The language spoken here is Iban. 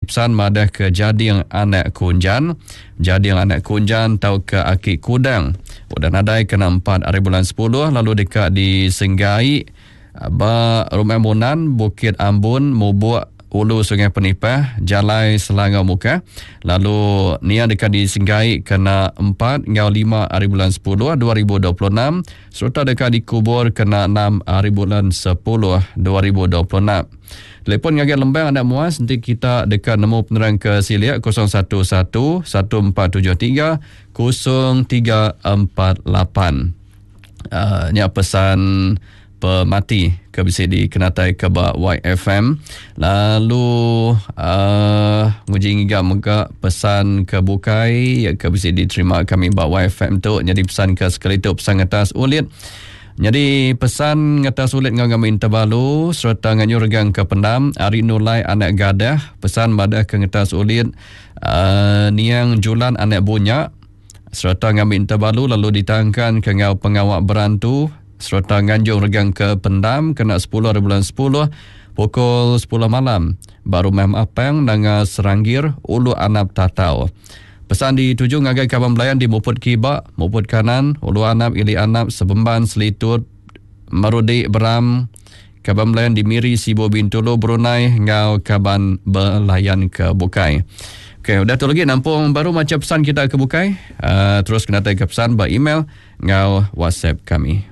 pesan madah ke Jading anak Kunjan, Jading anak Kunjan tauka Aki Kudang udah nadai kena empat ari bulan sepuluh lalu deka disenggai ba Rumah Munan, Bukit Ambun, Mubuk, Ulu Sungai Penipah, Jalai Selangau Mukah lalu nia deka disenggai kena empat enggau lima ari bulan sepuluh 2026 sereta deka dikubur kena enam ari bulan sepuluh 2026. Telefon ngagai Lembang Anak Muas enti kita deka nemu penerang ke silik 011 1473 0348. Uh, nya pesan pemati ke bisi dikenatai ke ba YFM. Lalu uh, nguji ngiga mega pesan ke bukai ke bisi diterima kami ba YFM tu. Jadi pesan ke sekali tu pesan ngetas ulit. Jadi pesan ngetas ulit enggau kami Tebalu sereta nganyu regang ke pendam ari Nulai anak Gadah pesan madah ke ngetas ulit uh, niang Julan anak Bunya sereta ngambi Tebalu lalu ditangkan ke enggau pengawa berantu sereta nganjung regang ke pendam kena 10 hari bulan 10 pukul 10 malam ba Rumah Mapang Nanga Seranggir Ulu Anap Tatau. Pesan dituju ngagai kaban belayan di Muput Kiba, Muput Kanan, Ulu Anap, Ili Anap, Sebemban, Selitut, Merudi, Beram, kaban belayan di Miri, Sibu, Bintulu, Brunei enggau kaban belayan ke bukai. Okey, udah tu lagi nampung baru macha pesan kita ke bukai. Uh, terus kena ke pesan ba email enggau WhatsApp kami.